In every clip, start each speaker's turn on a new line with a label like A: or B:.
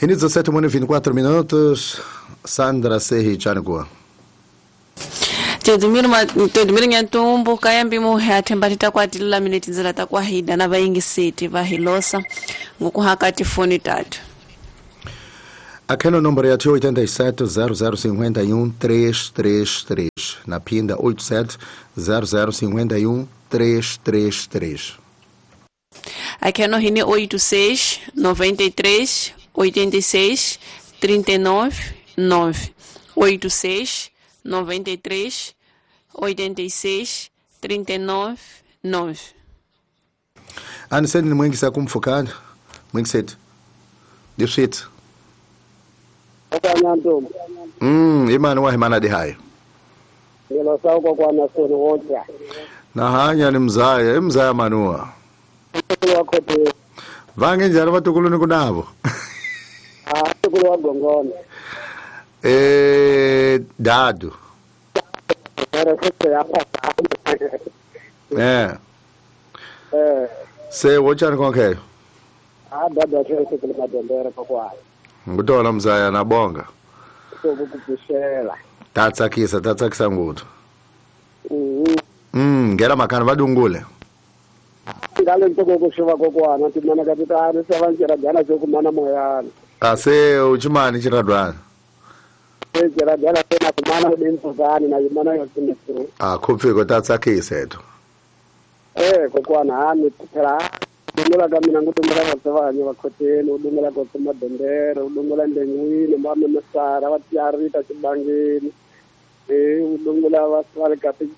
A: Em 17h24 minutos, Sandra Serri Chanigua.
B: Teodimiro Nhantumbo, kayambi muhe athemba titakwatilela mine tindzela ta kwahida na vayingiseti va hilosa ngokuhaka tifoni tatu.
A: Aquela número é 87 0051 333. Na pinda 87 0051 333.
B: Aqui no hine 86 93 86 39 9. 86 93 86 39 9.
A: Aniseni ni mwingi kumfukana. Mwingi setu. Dipsit. Imani wa himana di hayo.
C: Ngelo sawo kwa nasoni wote.
A: Na hanya ni mzaya, mzaya manua. Vange njalo vatukulu ni kunavo.
C: Ah, tukulu wa gongona.
A: Dado. Se wochani konke.
C: Ah, dado acho que madendera kwa.
A: Ngutola mzaya na bonga.
C: Sokukupishela.
A: Tatsakisa ngutu. Ngera makana vadungule.
C: Ngale ntoko kushuva kokwana timana kapitani savanjira gana chokumana moyana.
A: Ase uchimani chiradwana.
C: Chiradwana tena kumana udimfuzani na imana yosimisiru.
A: Ah, kupfiko tatsakisa etu.
C: Kokwana hani phela dungula ka mina ngudungula vatsavanye vakhoteni udungula kotse madendere udungula ndengwini mame masara va tiarita xibangeni udungula va va ka ti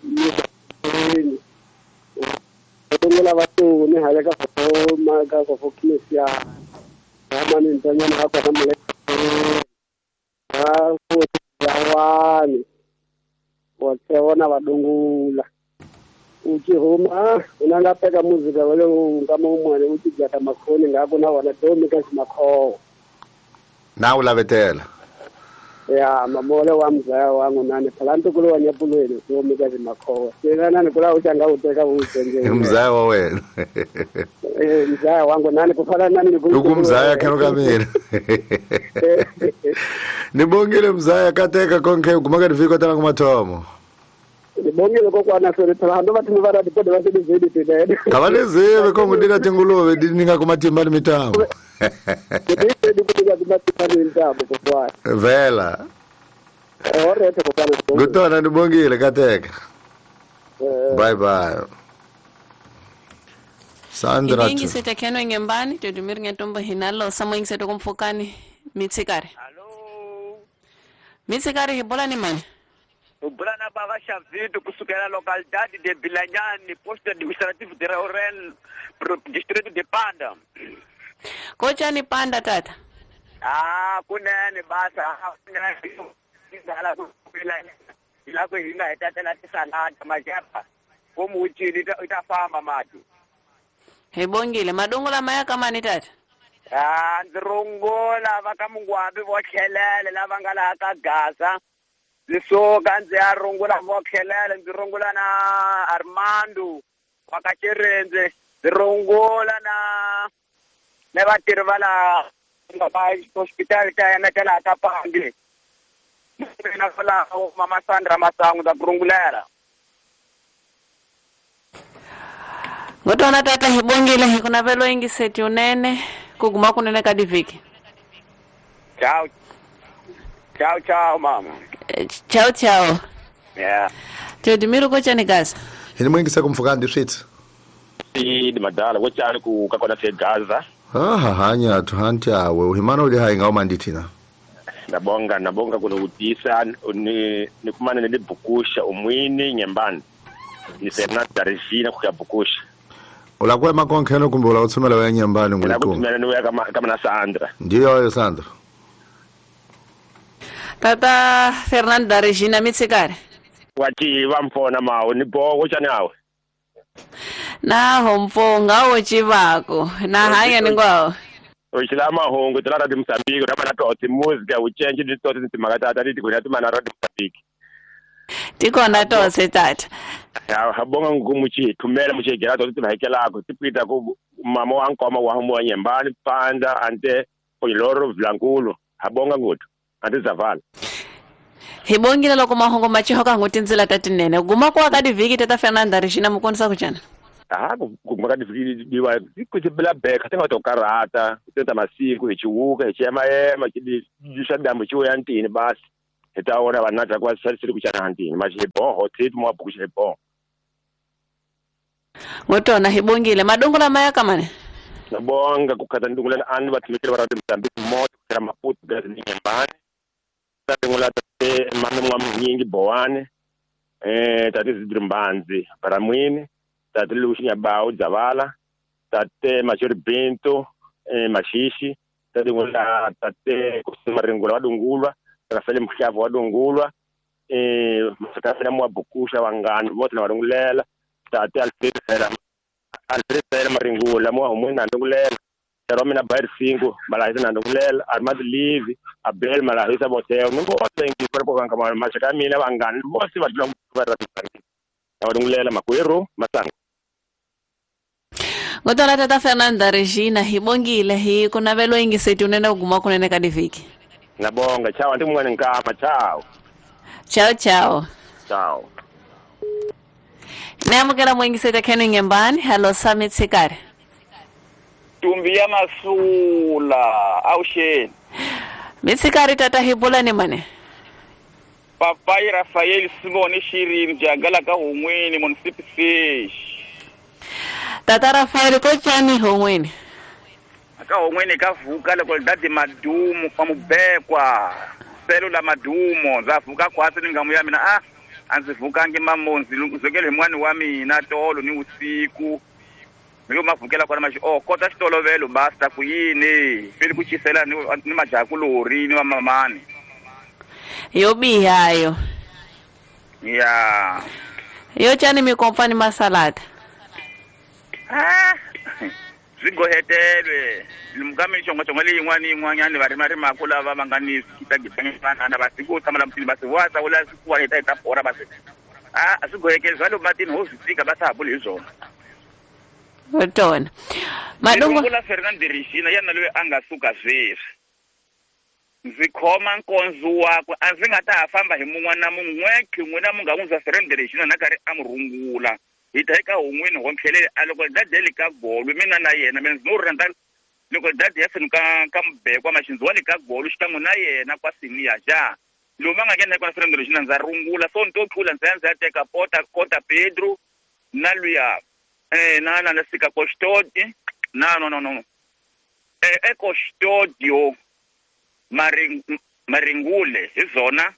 C: udungula va tuni hale ka foma ka go fokisia mani ntanyana ha kona mole ha futhi yawani wotse wona vadungula uchihuma unangapeka muzika wale ngama umwane uchijata makhoni ngako na wona domi ka simakhowo
A: na ulavetela
C: ya mamole wa mzaya wangu nani phela ntukulu wa nyapulweni domi ka simakhowo sina nani kula uchanga uteka usenje
A: mzaya wa wena
C: mzaya wangu nani kufana nani
A: ukumzaya khero kamina nibongile mzaya kateka konke kumaka ndifika tala kumathomo
C: ndibongile kokwana sore phela hanto batho ba radi kodwa ba sebenzile tena
A: abalezive kongudira tinguluve dininga kumatimba ni mitambo vela ngutona ndibongile kateka bye bye Sandra
B: Ingisete keno ngembani Teodimiro Nhantumbo hinalo samwe ingisete kumfukani mitsikari.
D: Hello.
B: Mitsikari hibola ni mani.
D: Ubulana baba Xavido kusukela localidade de Bilanyani, posto administrativo de Raurel, distrito de Panda.
B: Kochani Panda tata?
D: Ah, kunene basa, kunene ngala kubilanyani. Ila ku hinga itatela tisalada majapa. Komuchini itafamba mati.
B: Hebongile madongola maya kama ni tata?
D: Ah, ndzi va ka mungwabi vo tlhelele lava nga laha ka Gaza. Ndzi ndzi ya rungula vo tlhelele ndzi rungula na Armando wa ka Chirenze ndzi rungula na vatirhi va laha nga va hospital ta yena ta laha ka Pandi. Mina kwalaho mama Sandra Masangu ndza ku rungulela.
B: Ngotona tata hibongile hikunavelo ingiseti unene kuguma kunene ka diviki.
D: Ciao. Ciao ciao mama.
B: Ciao ciao.
D: Yeah.
B: Teodimiro kochani Gaza.
A: Hini mwingi sa kumfukani dipsit.
E: Ndi madala kochani ku kakona se Gaza.
A: Ah hanya tuhanti awe uhimana uli hai ngauma nditina.
E: Nabonga kuno kutisa ni kumana nilibukusha umwini nyembani. Ni Fernando Regina kuyabukusha.
A: Ulakuwa makonkheno kumbe ulakuthumela weya nyembani ngulikumu.
E: Ulakuthumela weya kama na Sandra.
A: Ndiyo yo Sandra.
B: Tata Fernando Regina mitsikari.
E: Wachi vamfona mawo ni boko chani awe.
B: Na hompo ngawo chivako na hanya ningwawo.
E: Uchila mahungu tala radi Mozambique rapa na toti music uchenje ndi toti ntimakatata ndi kuna tumana radi Mozambique.
B: Tikona tose tata.
E: Ya habonga ngumuchi thumela muchegera toti tihakelako tipita ku mama wa nkoma wa humo nyembani Panda ante Oyiloro Vlankulu habonga nguthu andizavala
B: hi bongile loko mahungu ma cihoka ngo tindzila ta tinene guma ku aka divhiki tata Fernanda Regina mukonisa ku cana
E: ha guma ka divhiki diwa ku tibela beka tinga to karata tenta masiku hi chiwuka hi chiyemayema xi dambu xivuya ntini basi hi ta vona vanhu na kwa sali ku cana ntini ma xi boho tsit mo buku xi boho
B: ngotona hi bongile madongo lama ya kamane
E: nabonga ku khata ndungula ani va thimekele va ra Mozambique moto ku Maputo gazi ni nyembani tadingula tate mami mwa mnyingi bowane tate Zidrimbanzi Baramwini tate Lucinya Bao Zavala tate Machori Bento Mashishi tadingula tate Kusimaringula wadungulwa Rafael Mhlavo wadungulwa Masakafela mwa Bukusha wangani vote na warungulela tate Alfred Maringula mwa humwina ndungulela Romina Bayer 5 malahisa na ndungulela Armand Livi Abel malahisa boteo ningo thank you for kwa mashaka mina vangani vose va dlula va ra ndungulela makwerhu masango
B: ngotona tata Fernanda Regina hi bongile hi ku navelo ingiseti unene uguma kunene ka divhiki
E: nabonga chao ndi mwana nkama chao
B: chao chao
E: chao
B: Namukela mwingiseta khenu ngembani hello Summit Sikari
D: Tumbi ya masula awusheni
B: Mitsikari tata hibula ni mane
D: Papai Rafael Simone Shirin jagala ka humwini munisipi fish
B: Tata Rafael ko chani humwini
D: Ka humwini ka vuka loko dadi madumu kwa mubekwa selo la madumo zavuka kwatsi ningamu ya mina a anzi vuka ngi mamonzi zokele mwani wa mina tolo ni usiku Milo mavukela kwa mashi oh kota xitolovelo basta ku yini feli ku chisela ni majakulori ni mamamani
B: yo bihayo
D: ya
B: yo chani mikompani masalada
D: ah swigohetelwe mukami xongo xongo leyi yin'wana yin'wanyani va rima rimaka lava va nga ni kitagitangana va siku tshama la mutini va si wa tsawula swikuwa hi ta hi ta bora va si a swi gohekeli swa le matini ho swi tika va sa ha buli hi swona
B: Tona. Madongo
D: la Fernando Regina yana loyi a nga suka sweswi. Ndzi khoma nkonzo wakwe a ndzi nga ta ha famba hi mun'wana na mun'we n'wina mu nga n'wi za Fernando Regina na karhi a mu rungula. Hi ta eka hun'wini ho tlhelele a loko dadeli ka golu mina na yena mina ndzi no ri na loko dadi ya senu ka mubekwa maxinzi wa le ka golu xikan'we na yena kwa siniya ja. Lomu a nga nghena eka Fernando Regina ndza rungula so ni to tlula ndzi ya ndzi ya teka pota kota Pedro na luya na na sika custody na no no no e custodio maringule hi zona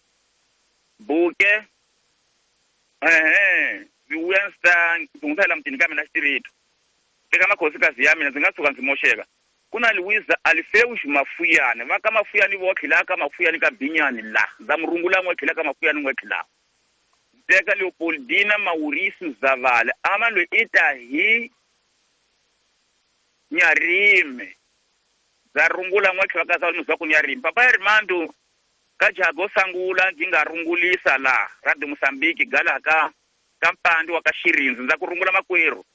D: buke vuya nsa ndzi mutini ka mina xtirito eka makhosikazi ya mina ndzi nga tshuka ndzi moxeka ku na Luisa Alfeus Mafuyane va ka Mafuyane vo tlhela ka Mafuyane ka Binyani la ndza murungula n'we tlhela ka Mafuyane n'we tlhela teka Leopoldina Mauricio Zavala ama lo ita hi Nyarime za rungula n'we tlhela ka za ku Nyarime papa Armando ka Jago Sangula ndzi nga rungulisa la Radio Mozambique gala ka kampandi wa ka Xirinzi ndza ku rungula makwerhu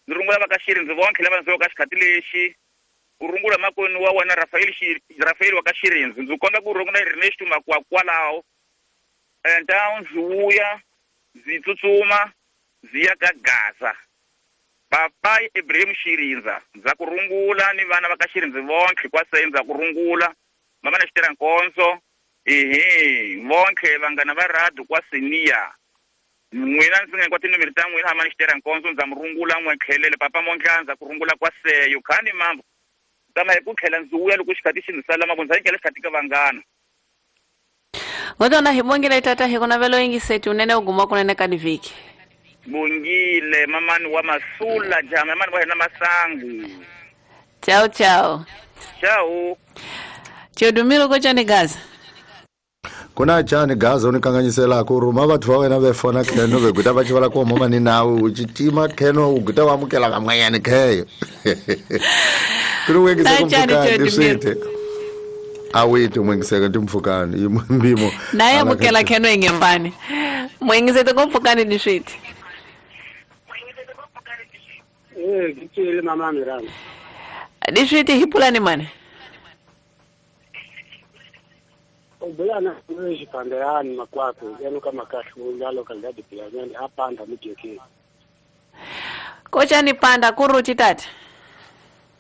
D: ndzi rungula va ka Xirinzi vonke lava ndzi ka xikhati lexi u rungula makwenu wa wena Rafael wa ka Xirinzi ndzi komba ku rungula Ernesto Makwa kwalaho enta ndzi vuya ndzi tsutsuma ndzi ya ka Gaza papai Ibrahim Xirinza ndza ku rungula ni vana va ka Xirinzi vonke kwa se ndza ku rungula mama na xitira nkonzo ehe vonke vanghana va radio kwa senior n'wina ndzi nga kwa tinomero ta n'wina hama ni xitira nkonzo ndza mu rungula n'we tlhelele papa Mondla ndza ku rungula kwa seyo khani mambo tama hi ku tlhela ndzi vuya loko xikhati xi ndzi sala mavondzo ndza nyikela xikhati ka vanghana
B: Ngotona hi bongile tata hi kuna velo ingiseti unene uguma kunene ka divhiki
D: Bongile mamani wa masula jama mamani wa hina masangu
B: Ciao ciao
D: Ciao
B: Chedumilo ko chani Gaza
A: Kuna chani Gaza unikanganyisela ku ruma bathu va wena ve fona kheno ve guta va chivala ku mama ni nawe u chitima kheno u guta wa amukela kamwanyani kheyo Kuri wengise kumfukani swite Awiti mwengiseka timfukani mbimo
B: Naye amukela kheno ingembani Mwengise kumfukani ni swite
C: Ngitshele mama Miranda
B: Di swite hipulani mane
C: Ubulana xipandeyani makwako yenu ka makahlula localidade Bilanyani apanda mujekeni.
B: Kochani panda kuruti tata.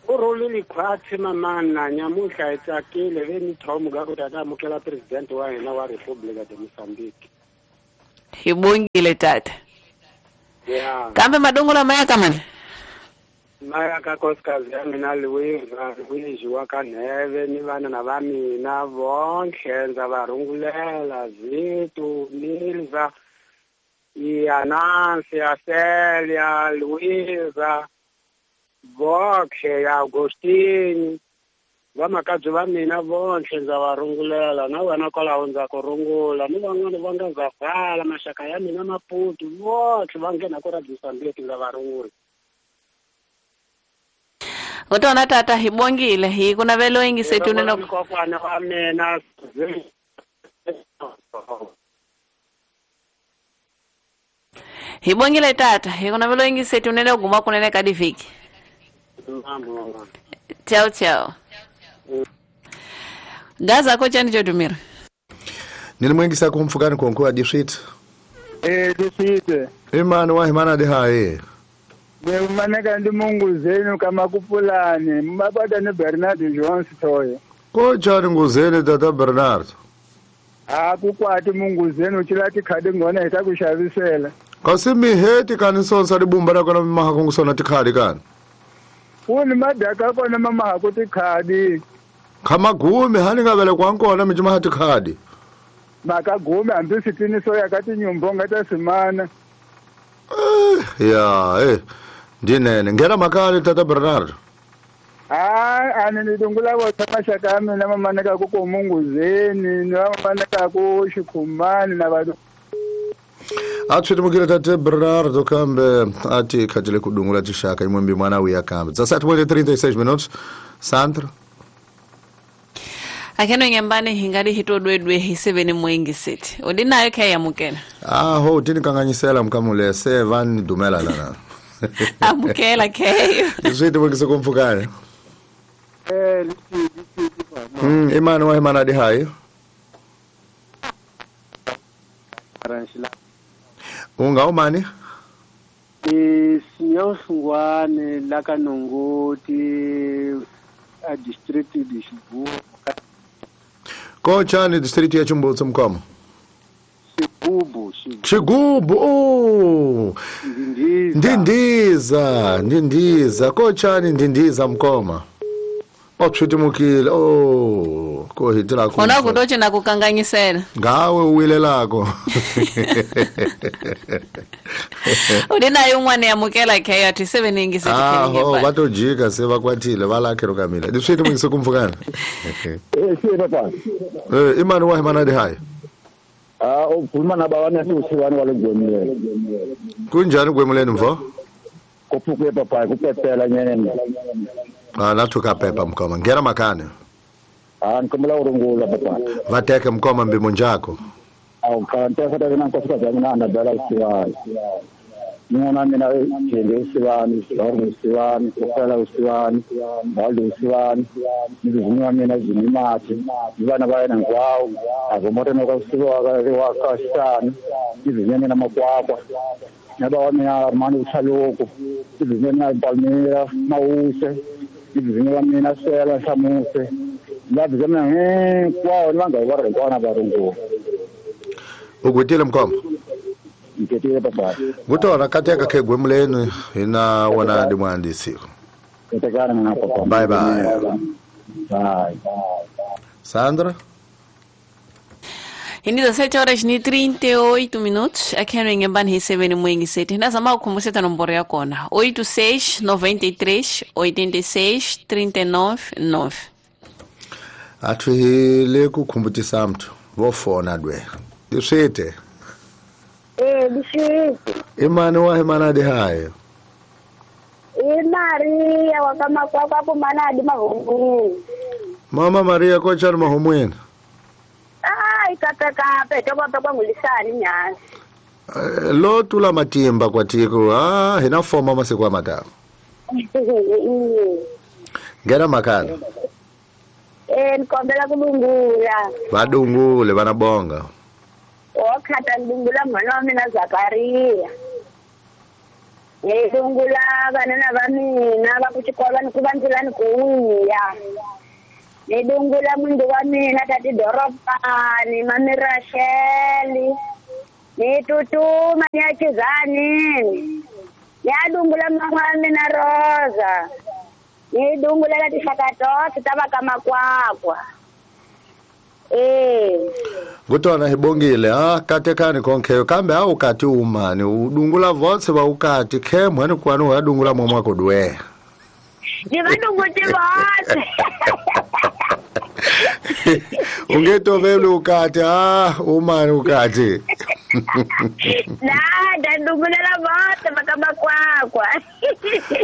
C: Urulile khwatsi mamana nyamuhla hi tsakile ve ni thomo ka ku tata amukela president wa hina wa Republika de Mozambique.
B: Hi bongile tata.
C: Yeah.
B: Kambe madongo maya kamani?
C: Maya ka nkosikazi ya mina Luiza Luigi wa ka Neve ni vana na va mina vonke ndza va rungulela Zitu Milza Yanansi Celia Luiza vonke ya Agostini vamakabye va mina vonke ndza va rungulela na wena kwalaho ndza ku rungula ni van'wana va nga zavala maxaka ya mina Maputo vonke va nghena ku ra Mozambique ndza va rungula.
B: Utona tata hibongile hi kuna velo ingisethu neno
C: kokwana wa mina.
B: Hibongile tata hi kuna velo ingisethu neno guma kunene ka diviki. Ciao ciao. Gaza kocha ndicho tumira.
A: Nilimwengisa kumfukani konkuwa district.
F: District.
A: Imani wa himana de hae.
F: Maneka ndi Mungu zenu kama kupulani mabada ni Bernard Jones toyo.
A: Kocha nguzeni tata Bernard.
F: Akukwati Mungu zenu chilati khadi ngona itakushavisela.
A: Kasi miheti kanisonsa libumba la kona maha kungusona tikhadi kani.
F: Uni madaka kona mama hakutikhadi.
A: Kama gume hani ngavele kwankona mijima hatikhadi.
F: Makagume ambisitini soya kati nyumbo ngatasimana.
A: Ya ndinene ngena makali tata Bernard.
F: Ani ndidungula votha maxaka ya mina mamaneka ku komunguzeni ni mamaneka ku xikhumani na vanhu.
A: Atswitimukile tate Bernardo kambe ati khatile kudungula tixaka imwembi mwana uya kambe. 17:36 minutos. Sandra.
B: Akeno ngembane hingadi hitodwedwe hiseveni mwengi sithi. Udinayo khe yamukela.
A: Aho tinikanganyisela mkamule se van dumela lana.
B: Amukela khe.
A: Iswiti mwengise kumfukane. Imani wa himana di hayo. Unga umani?
C: Signor Sungwane la Nongoti a district de Chibubu.
A: Kocha ni district ya Chimbutsu mkomo.
C: Chigubu.
A: Chigubu. Oh. Ndindiza. Ndindiza. Kocha ni ndindiza mkoma. Otshutimukile. Oh, kohitira ku.
B: Ona kutoche na kukanganyisela.
A: Ngawe uwile lako.
B: Udinayo umwana yamukela khe athi 7
A: Aho batojika sebakwatile balakhe rokamile. Diswiti mungise kumfukana.
G: Si papa.
A: Imani wa himana di hayi.
G: Ukhuluma nabawana siwani walogwemuleni.
A: Kunjani gwemuleni mfo?
G: Kophuke papa kupepela nyene.
A: Nathuka pepa mkoma. Ngena makane.
G: Ngikhumula urungula papa.
A: Vateke mkoma mbimo njako.
G: Awukante futhi mina nkosikazi yami Annabella usiwani. Ngona mina jende usiwani, Lord usiwani, Kofela usiwani, Baldo usiwani, ngivunywa mina Jinimathi, ibana bayena ngwawo, azomoto nokusiwa wakashana, ngivunywa mina makwakwa. Naba wami Armando Uchaluko, ngivunywa mina Palmira Mawuse, ngivunywa mina Sela Shamuse. Ngavunywa mina kwawo nangayibara kwana barungu.
A: Ugutile mkoma.
G: Ngitile baba.
A: Ngutona kateka ke gwemuleni ina wana ndi mwandisi.
G: Ngitekana mina papa.
A: Bye bye.
G: Bye.
A: Sandra.
B: Em 17:38 minutos, aqui no Ingemban recebendo muito sete. Nós vamos como você tá no Boreia Kona. 86 93 86 39 9.
A: Athwile kukhumbuthisa mntu vofona dwe. Diswite.
H: Diswite.
A: Imani wa himana di hayo.
H: Maria wakamakwakwa kumanadi mahumwini.
A: Mama Maria kocha mahumwini.
H: Ikapekape tokwa ngulisani nyasi.
A: Lo tula matimba kwatiko hina foma masiku amatako. Ngena makana.
H: Ni kombela ku dungula.
A: Va dungule vana bonga.
H: O khata ndungula mhana wa mina Zakaria. Ni dungula vanana va mina va ku xikolweni ku va ndzilani ku wuya. Ni dungula mundu wa mina tati Doropani, mami Rachel. Ni tutuma ni ya Chizanini. Ni ya dungula mama wa mina Rosa. Ni dungula la tixaka tohle ta va ka Makwakwa.
A: Ngutona hi bongile ha katekani konke kambe a ukati umani udungula votse va ukati khe mhani kwani wa dungula momwa kodwe.
H: Ni va dunguti votse.
A: Ungetovele ukati ha umani ukati.
H: Na dandugulela votse va ka Makwakwa.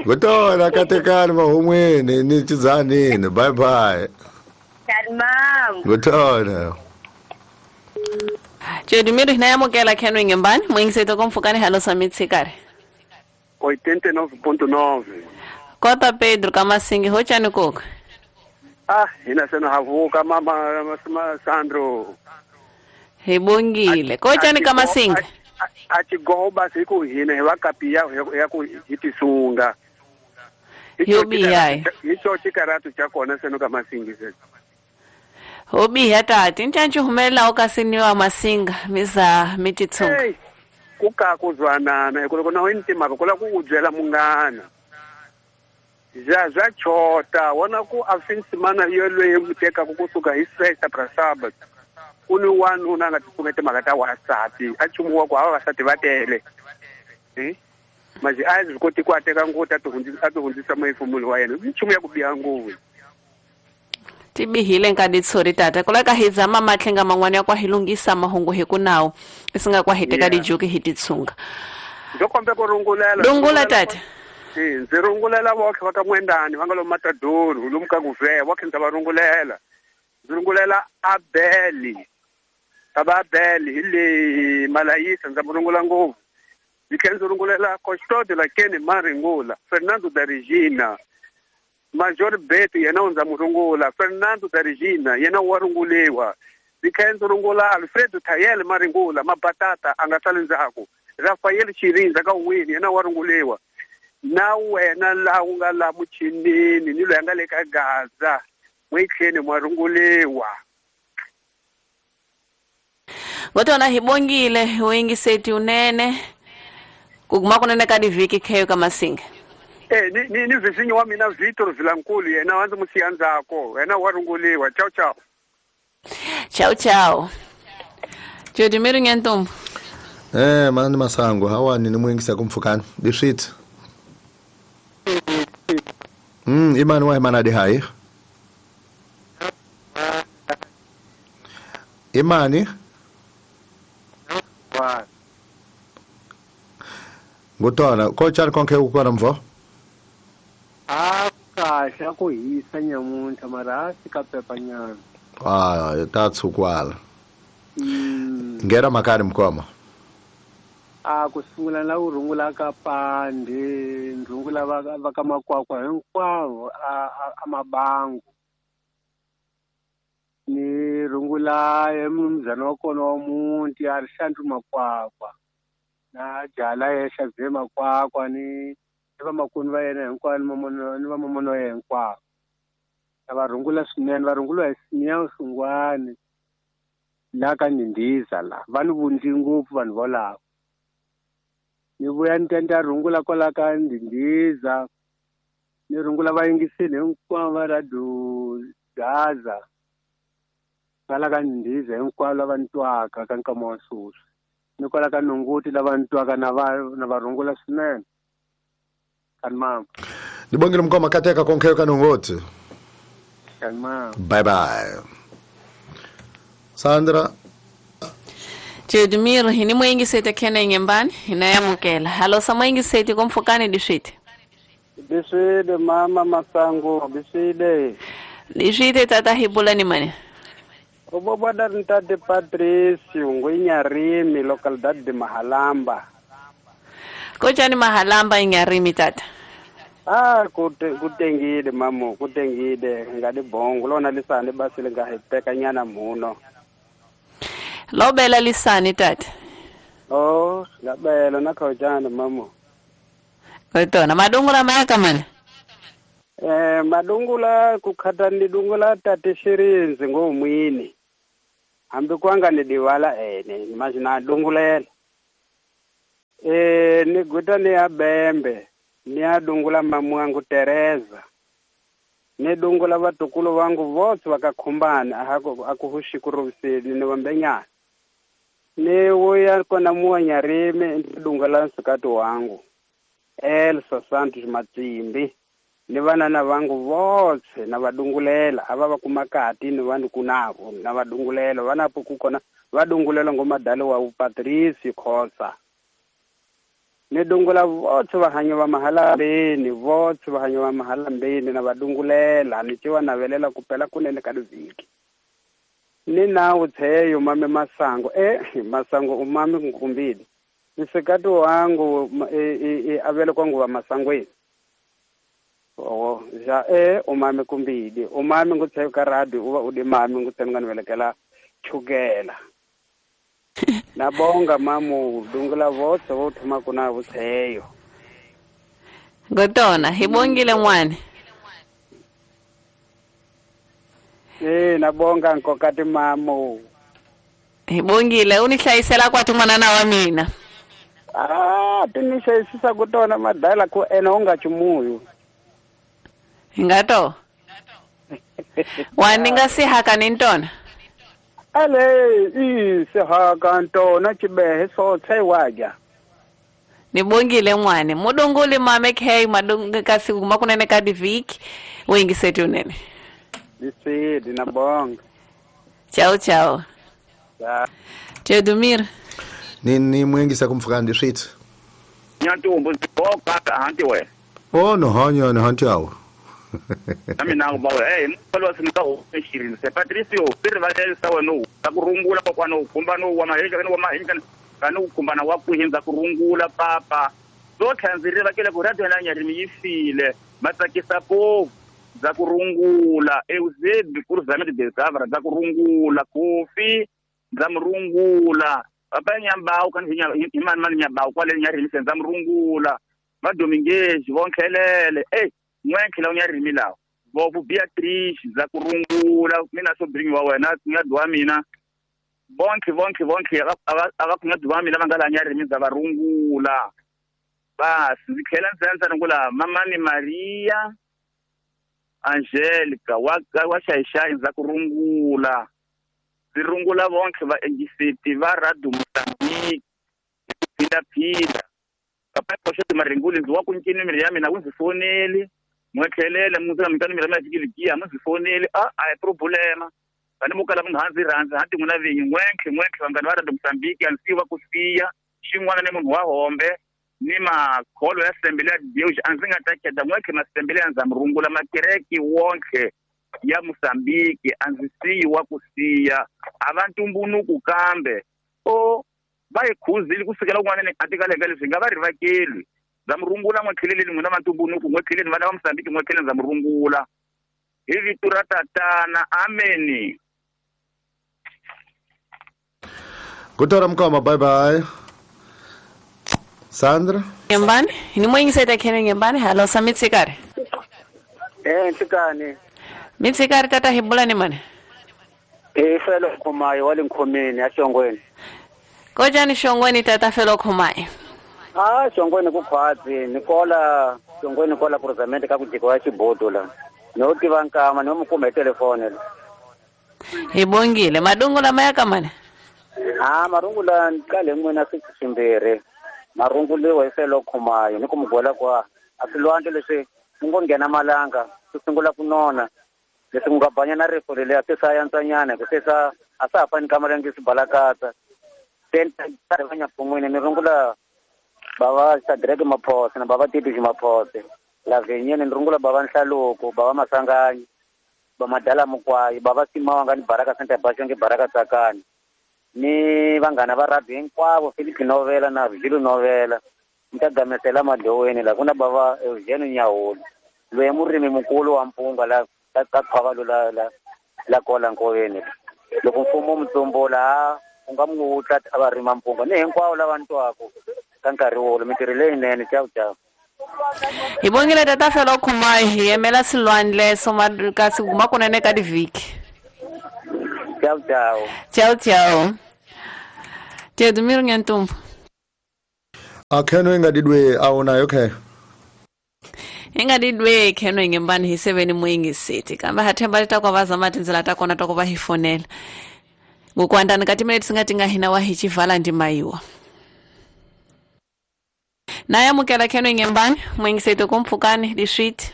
A: Ngutona katekani mahumweni ni Chizanini. Bye bye.
H: Mam.
A: Ngutona.
B: Jedimiri na yamukela Kenwe Ngembani, mwingiseto komfukani halo samitsikare.
C: 89.9.
B: Kota Pedro Kamasingi hochani koko.
C: Ah, hina sena havuka mama Sandro.
B: Hibongile. Kochani Kamasingi.
C: Achigoba siku hina hewakapia ya ku hitisunga.
B: Yobi
C: Icho chikaratu chakona seno Kamasingi sena.
B: Hobi hatati nchanchu humela okasiniwa Masinga miza mititsunga.
C: Hey, kuka kuzwanana kuloko na wentima kula kuudzela mungana. Ja chota wona ku afinsimana yolwe muteka kukusuka hi sexta pra sábado. Kuni wanuna nga tikumete makata wasati achumuwa kwa vavasati vatele. Maji azi koti kwateka ngota tuhundzisa maifumulo wa yena. Nchumu ya kubiha nguvu.
B: Tibihile nkaditsori tata kula ka hizama matlhenga man'wana ya kwa hilungisa mahungu hi kunawo isinga kwa hiteka dijuki hititsunga.
C: Ndokombe ku rungulela.
B: Rungula tata.
C: Ndzi rungulela vokhe va ka Mwendani va nga lo Matador lomu ka Guvheya vokhe ndza va rungulela. Ndzi rungulela Abeli. Aba Abeli hi le Malayisa ndza mu rungula ngopfu. Ndzi tlhela ndzi rungulela Costodo la Kene Maringula, Fernando da Regina. Major Beto yena u ndza mu rungula, Fernando da Regina yena wa runguliwa. Ndzi tlhela ndzi rungula Alfredo Tayele Maringula, Mabatata a nga sali ndzhaku. Rafael Chirinza ka Wini yena wa runguliwa. Na wena laha u nga la muchinini ni loyi a nga le ka Gaza mwitlheni mwa runguliwa.
B: Ngotona hibongile wingiseti unene kuguma kunene ka divhiki kheyo ka Masinga.
C: Ni vizinyo wa mina Victor Vilankulu yena wa ndzi musiya ndzhaku yena wa runguliwa. Ciao ciao.
B: Ciao ciao. Jodimiri Nyantombo.
A: Mani Masango hawani ni mwingisa kumfukani biswit. Imani wa imana di hai. Imani? Ngutona, kochani konke ukona mvo?
I: A kahle ku hisa nyamuntlha mara a pepa nyana.
A: Ah, tatsukwala. Ngera makani mkoma.
I: A ku sungula la u rungula ka Pande, rungula va ka Makwakwa hinkwavo a Mabangu. Ni rungula emnumzana wa kona wa muti a ri Xandru Makwakwa. Na jala ya Xavier Makwakwa ni vamakunu va yena hinkwavo ni vamamona wa yena hinkwavo. Va rungula swinene, va rungula hi Simeon Sungwani la ka Ndindiza la. Va ni vundzi ngopfu vanhu volavo. Ni vuya ni ta rungula kwala ka Ndindiza, ni rungula vayingiseli hinkwavo va Radio Gaza kwala ka Ndindiza hinkwavo lava ni twaka ka nkama wa sweswi. Ni kwala ka Nonguti lava ni twaka na va rungula swinene. Kanmam.
A: Nibongile mkoma kateka konke ka Nongoti.
I: Kanmam.
A: Bye bye. Sandra
B: Jedmir hini mwingisete kene nyembani inayamukela. Halo sa mwingisete komfukani dishite.
J: Dishide mama Masango, dishide.
B: Dishide tata hibula ni mane.
J: Ubobada ntate Patrice Ngwinyarimi localidade de Mahalamba.
B: Kochani Mahalamba Inyarimi tata.
J: Ah kutengile mamo kutengile ngadi bongo lona lisane basile ngahiteka nyana muno.
B: Lobela lisane tata.
J: Oh ngabela nakhojana mamo.
B: Kotona madungula maka mana.
J: Madungula kukhata ni dungula tate Shirinzi ngomwini. Hambi kwanga ni diwala ene imagine dungulela. Ni guta ni abembe. Ni adungula mamu wangu Teresa. Ni dungula vatukulu wangu votse vakakhumbana akuhushi kuruvuseli ni vambenyana. Ni wuya kona muwanyarimi ndi dungula nsukati wangu Elsa Santos Matsimbi. Ni vanana vangu votse na vadungulela ava va kumakati ni vanhu kunavo na vadungulela vanapo kukona vadungulela ngomadali wa Patrice Khosa. Ni dungula votse vahanyi va mahalambeni votse vahanyi va mahalambeni na vadungulela ni ciwa navelela kupela kunene ka vhiki. Ni nawu tsheyo mame masango masango umami nkumbili nsikati wangu avele kwangu va masangweni. Oh ja umami kumbili umami ngutsheyo ka radio uva udi mami ngutsenga nivelekela chukela. Nabonga mamu dungula votse vo thoma kuna vutsheyo.
B: Gotona hibongile n'wana.
J: Nabonga nkokati mamu.
B: Hibongile u ni hlayisela kwati n'wanana wa mina.
J: Ah ti ni hlayisisa kutona madala ku ena u nga chumuyu.
B: Hingato. Wa ni nga sihaka ni ntona.
J: Ale i sihaka ntona chibehe sotse waja.
B: Nibongile n'wana mudunguli mame khe madungu kasi kuma kunene ka diviki wingiseti unene.
J: Nisidi nabonga.
B: Ciao ciao. Tedumir.
A: Ni mwengisa kumfukandi switsi.
K: Nyantumbu boka hanti we.
A: Oh no hanya no hanti awo.
K: Nami nangu bawe mfalo sinika ushirini se Patricio sirvalele sawe no takurungula kwa no kumba no wa mahenja no wa mahenja kanu kumbana wa kuhinza kurungula papa so thanzirira vakele ku radio na nyarimi yifile matsakisa po za kurungula Eusebi kuruzame de gavara za kurungula kofi za murungula papa nyambao kan imani mani nyambao kwale nyarimi senza murungula madominguez vonkhelele n'wenkhela unyarimi lawo vovu Beatrice za kurungula mina so bring wa wena nyadwa mina bonke ava kunyadwa mina va nga la nyarimi za varungula basi ndzi tlhela ndzi ndza rungula mamani Maria Angelica wa xaixai ndza kurungula ndzi rungula vonke va engiseti va radio Mozambique phila papa koxo maringuli ndzi wa ku ncini miri ya mina wu ndzi foneli n'wekhelele mutsa mitano miri ya mina fikiligiya mu ndzi foneli a hi problema vani mo kala munhu handzi rhandza hanti n'wina vinyi n'wenkhe vanghana va radio Mozambique a ndzi siva ku siya xin'wana ni munhu wa hombe ni makholo ya sembele ya Deus a ndzi nga ta kheda n'wenkhe masembele ya ndza murungula makereki wonkhe ya Mozambique a ndzi siyi wa ku siya a va ntumbunuku kambe o va hi khuzile ku sukela kun'wana ni atikaleka leswi nga va rivakeli ndza murungula n'wekheleleni n'wina va ntumbunuku n'wekheleni vana va Mozambique n'wekheleni ndza murungula hi vito ra tatana ameni.
A: Kutora mkoma bye bye. Sandra
B: Ngembani ni mwingiseta khene Ngembani halo samitsikare.
L: Ntikani
B: mitsikare tata hibula ni mane.
L: Felo khomayo wale nkhomeni ya Shongweni.
B: Kojani Shongweni tata felo khomayo.
L: Ah Shongweni ku khwatsi nikola Shongweni kola kuruzamente ka kujiko wa xibodo la. No tiva nkama no mukuma hi telefone la.
B: Hibongile madungula maya kamane.
L: Ah marungula nkale n'wina swimbirhi. Marunguliwa hi felo khomayo ni ku mugwela kwa a swilwandle leswi ku ngo nghena malanga swi sungula ku nona leswi ku nga banya na rifu leliya se swa yantswanyana ku se swa a swa ha fani ka malengi swi balakatsa se ni va nyapfun'wini ni rungula bava Shadrack Maphose na bava Titi Maphose Lavenyeni ni rungula bava Nhlaluko bava Masanganyi ba Madala Mukwayi bava Simawanga ni Baraka Center Bashonge Baraka Tsakani ni vanghana va rugby hinkwavo Philip Novela na Virgilio Novela Ni ta gamesela madloweni la ku na bava Eugene Nyahulu loyi murimi mukulu wa mpunga la ka khwavalo la kola nkoveni. Loko mfumo mutsombula u nga mu wutla a va rima mpunga ni hinkwavo lava ni twaka ka nkarhi wolowo mintirho leyinene. Ciao ciao.
B: Hi bongile tata Felo Khumai hi yimela Silwandle kasi guma kunene ka divhiki.
L: Ciao ciao.
B: Ciao ciao. Teodomiro Nhantumbo.
A: Akheno ingadidwe awunayo okay.
B: Ingadidwe kheno ingembani hi 7 mwingi city. Kamba hathemba litakwa vazama tindzela ta kona ta ku va hi fonela. Ngokwandani ka timinete singati nga hina wa hi chivala ndimaiwa. Naye mukela kheno ingembani mwingi city kumpfukani diswiti.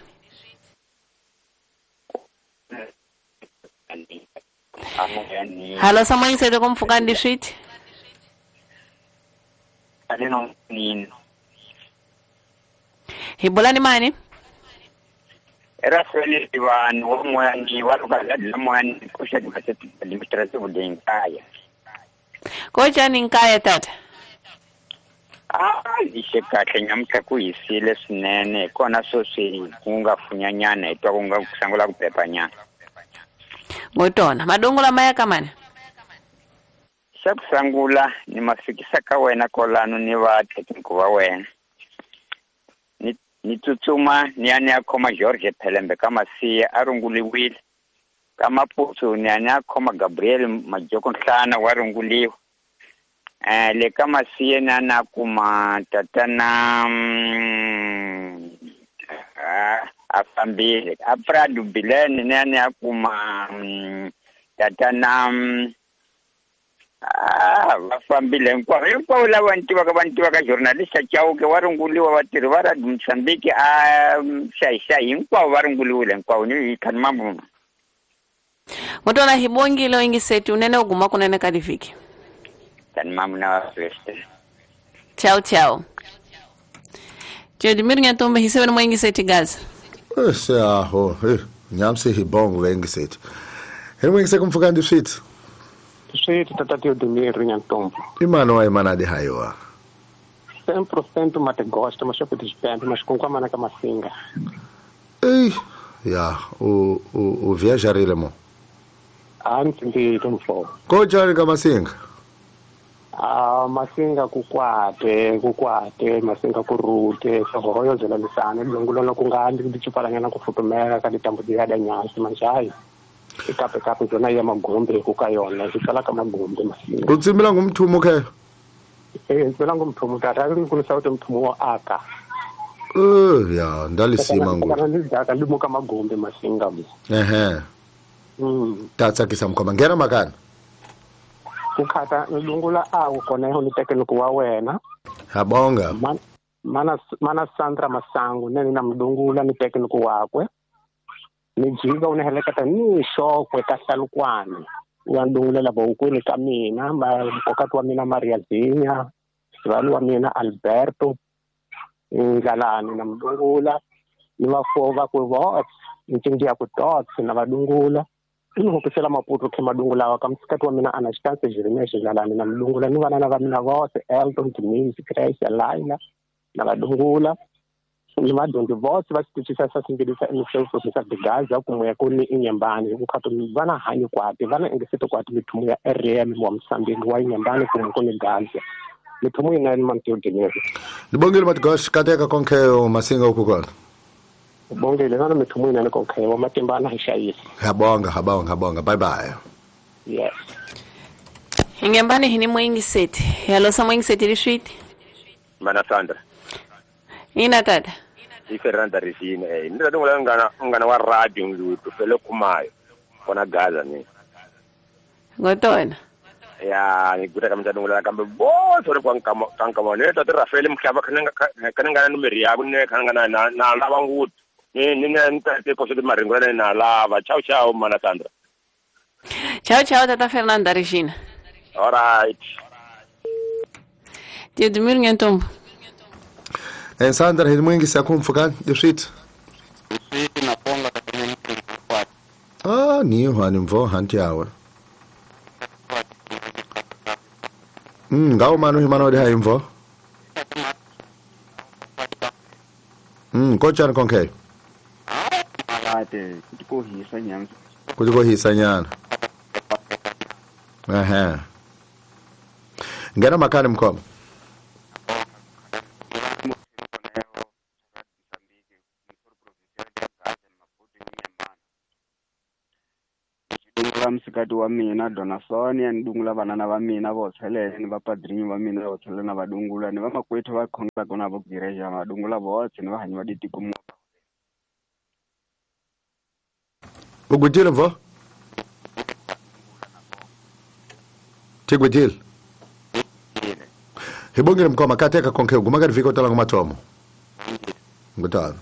B: Halo sa mwingi city kumpfukani diswiti. Hibolani mani?
M: Era feli vanhu van'wani va loko mani ku xa administrative leyi nkaya.
B: Kojani nkaya tata?
M: A lixe kahle nyamuntlha ku hisile swinene hi kona sweswi ku nga funyanyana hi twa ku nga ku sungula ku pepanyana.
B: Ngotona madongo lama ya ka mani?
M: Xa ku sungula ni ma fikisa ka wena kolano ni va thekiniki va wena. Ni tsutsuma ni ya ni ya khoma George Phelembe ka Masiya a runguliwile. Ka Maputsu ni ya ni ya khoma Gabriel Majoko Nhlana wa runguliwa. Le ka Masiya ni ya na kuma tatana a fambile. A Prado Bilene ni ya ni ya kuma tatana va fambile hinkwavo hinkwavo lava ni tivaka journalist Chauke wa runguliwa vatirhi va Radio Mozambique a xayi hinkwavo va runguliwile hinkwavo ni hi khani mambo.
B: Motona hi bongile ingiseti unene uguma kunene ka divhiki.
M: Khani mambo na vakreste.
B: Ciao ciao. Teodomiro Nhantumbo hi 7 mwingiseti gaza.
A: Se aho nyamse hi bongo vengiseti. Hi mwingiseti kumfuka ndi switi.
N: Switi tata Teodomiro Nhantumbo.
A: Imano wa imana de haiwa.
N: 100% mate gosta, mas eu pedi mas com qual ka masinga.
A: Ei, ya, o viajarile mo.
N: Antes de tumfo.
A: Ko jari ka masinga?
N: Ah, masinga kukwate, masinga kurute, sohoyo zela lisana, longulo kunga andi ndichipalanyana kufutumela ka ditambudzika da nyasi manjai. Ikape kape zona ya magombe kukayona zikala ka magombe masinga.
A: Utsimbila ngumthumo ke?
N: Ntsimbila ngumthumo tata ngikulisa ukuthi mthumo wa aka.
A: Ya ndalisima ngo.
N: Ndizaka limuka magombe masinga mo.
A: Ehe. Tatsakisa mkhoma ngena makana.
N: Kukhata nilungula awu kona ho nitekeniko wa wena.
A: Habonga.
N: Mana Sandra Masangu nene na mdungula nitekeniko wakwe. Ni jika unaheleketa ni shokwe ka hlalukwana wa ndungulela bawukwini ka mina mkokati wa mina Maria Zinya sivali wa mina Alberto Ndlalani na mdungula ni vafuwo va ku vots ncindi ya ku tots na vadungula ni hopisela Maputo khe madungula wa ka msikati wa mina Anastasia Jeremiah Ndlalani na mdungula ni vana va mina vose Elton Denise Grace Laila na vadungula ni vadyondzi vose va xitichisa xa singilisa emisefosisa digaza kumwe ku ni inyembani ku khato vana hanyi kwati vana engesete kwati mithumo ya RM wa Mozambique wa inyembani kumwe ku ni Gaza mithumo yinene Manteodomiro.
A: Ndibongile Matigosh kateka konke masinga uku kona.
N: Bongile nana mithumo yinene konke wa matimbana hi xayisa.
A: Habonga bye bye.
N: Yes.
B: Inyembani hini mwingisete. Yalo sa mwingisete liswiti.
E: Mana Sandra.
B: Ina tata.
E: I Fernanda Regina ni ta dungula ngana wa radio ndlutu fele kumayo kona Gaza ni.
B: Ngotona.
E: Ya ni kuta kamta dungula kambe boso ri kwa nkama ne tata Rafael Mhlaba kana ngana numeri yabo ne kana ngana na lava ngutu ni ni tate ko se maringo na lava. Ciao ciao mana Sandra.
B: Ciao ciao tata Fernanda Regina.
E: All right.
B: Teodomiro Nhantumbo.
A: Sandra hi mwingi sakumfuka diswiti. Ni hani mvo hanti yawe. Ngawo manu himano de haimvo. Kochani konke.
O: Alate kutikohisa nyana.
A: Kutikohisa nyana. Ehe. Ngena makani mkoma.
O: Msikati wa mina Dona Sonia ni dungula vanana va mina vo tlhelele ni vapadrinyi va mina vo tlhelele na vadungula ni vamakwethu va khongelaka na vo gireja vadungula votse ni vahanyi va ditiko mo.
A: Ugutile mvo? Tigutile. Hibongile mkoma kateka konke uguma ka viko tala ngumatomo. Ngutana.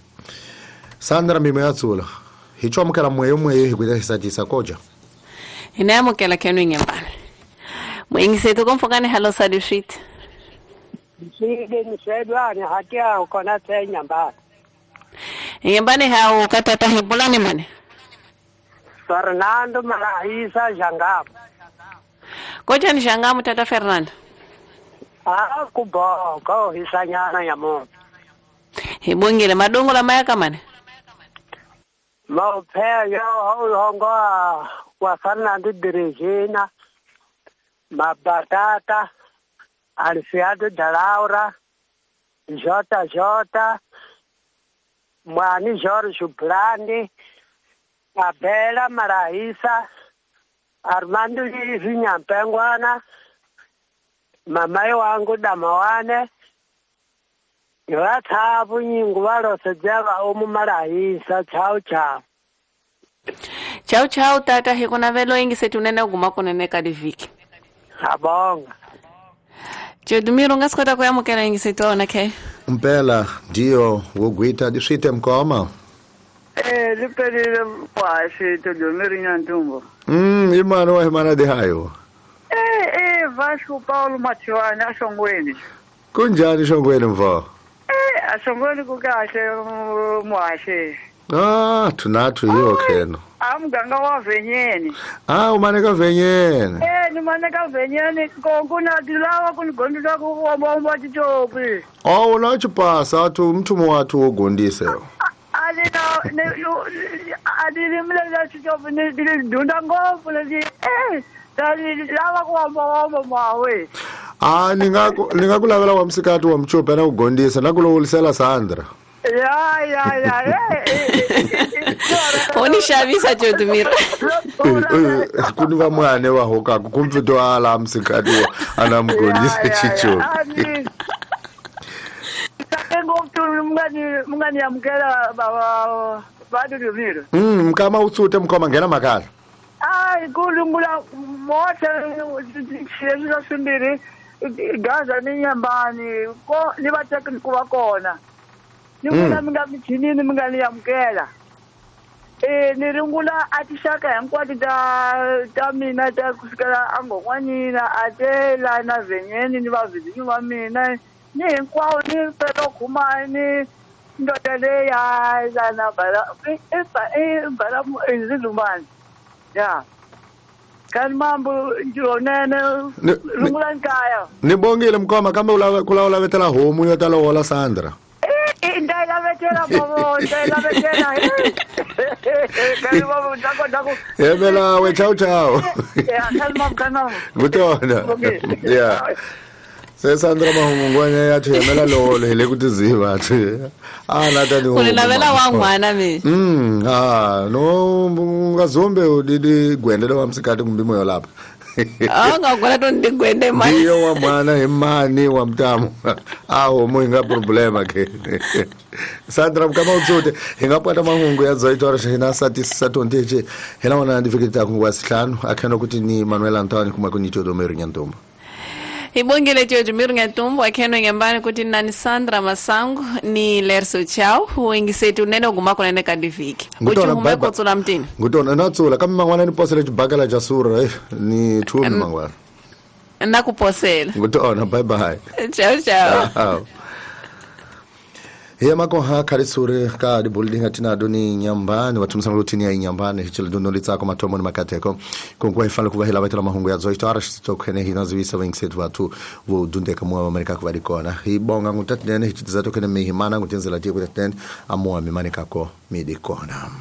A: Sandra mimo yatsula. Hichomkela mweyo mweyo hikuita hisatisa koja.
B: Inayamukela kenu ingembane. Mwingisetu komfokane hello sadishit.
P: Sike nisedwane hatia kona tsenyamba.
B: Ingembane hao katata hibulani mane.
P: Fernando Malaisa Jangamu.
B: Koja ni Jangamu tata Fernando.
P: Ah kubo ko hisanyana ya mo.
B: Hibongile madongo la mayaka mane.
P: Mophe yo hongo wa Fernando de Regina, Mabatata, Alfiado da Laura, JJ, Mwani Jorge Blandi, Abela Maraísa, Armando Vinhampengwana, Mamai wangu Damawane, Iwathabu nyingu walosejava omu Maraísa, chao chao.
B: Chao chao tata hikuna velo ingi setunene uguma kunene kadiviki.
P: Abonga.
B: Chedumiro ngasikota kuyamukela ingi setona ke.
A: Mpela ndio wogwita diswite mkoma.
F: Lipelile kwashi Tedomiro Nyantumbo.
A: Imano wa himana de hayo.
F: Vasco Paulo Matiwane ashongweni.
A: Kunjani shongweni mvo?
F: Ashongweni kukahle mwashe.
A: Ah, tunathu yiyo kheno.
F: Amganga wa venyeni.
A: Ah, umaneka venyeni.
F: Ni maneka venyeni konkuna dilawa kunigondisa kuomba titopi.
A: Oh, unachipasa tu mtu mwatu wogondise.
F: Alina ne adilimle titopi ni dunda ngopfu le dali lawa kuomba mwawe.
A: Ah, ningakulavela wa msikati wa mchupe na kugondisa nakulowolisela Sandra.
F: Ya.
B: Onishavisa Teodomiro.
A: Kuni vamwane wa hoka kumpito ala msikati anamgondisa chicho.
F: Mungani amkela baba Teodomiro.
A: Mkama utsute mkoma ngena makala.
F: Ai kulungula mote xileswi swimbirhi Gaza ni Nyambani ko ni va tekni ku va kona. Ni vula mi nga michinini mi nga ni amukela. Ni ringula a tixaka hinkwato ta mina ta kusukela angon'wanina a tela na venyeni ni vavizinyi va mina ni hinkwawo ni felo khumani ndoda leya lana bala i bala izilumani ya kani mambo njonene rungula nkaya.
A: Ni bongile mkoma kambe kula ulavetela homu yo tala wola Sandra.
F: Ndailavetela bobo, ndailavetela. Kani bobo ndako.
A: Yebela we chao chao.
F: Ya kani mambo.
A: Ngutona. Yeah. Se Sandra mahungwanya ya themela lolo hele kutiziva thi. Ah nata ni.
B: Ulilavela wangwana mi.
A: Ah no ungazombe udidi gwendele wa msikati kumbimo yolapha.
B: Ah ngakona to ndigwende mani.
A: Ndiyo wa mwana imani wa mtamu. Aho mo inga problema ke. Sandra kama utsote ingapata mahungu ya zoitora hina satisa tonteche hina wana ndifikita kungwa sihlanu akhona ukuthi ni Manuel Antonio kuma kuni Teodomiro Nyantumbo.
B: Ibongile Teodomiro Nyantumbo akheno ngembani kuti nani Sandra Masango ni Lerso Chao wengisetu nene uguma kona ne kadiviki. Uchume kotsula mtini.
A: Ngutona natsula kama mangwana ni posele chibakala cha sura ni thumi mangwana.
B: Nakuposela.
A: Ngutona bye bye.
B: Ciao ciao.
A: Hi makoha khalisuri ka dibuilding atinado ni nyambani vatumisana lutini ya inyambani hichile duno litsako matomo ni makateko konkuwa ifale kuva hila vaitela mahungu ya zoito ara shitokhene hinazivisa vengisethu vathu vodundeka muwa vamaneka kuvadikona hibonga ngutatinene hichitiza tokhene mihimana ngutenzela tiye kutatinene amuwa mimanekako midikona.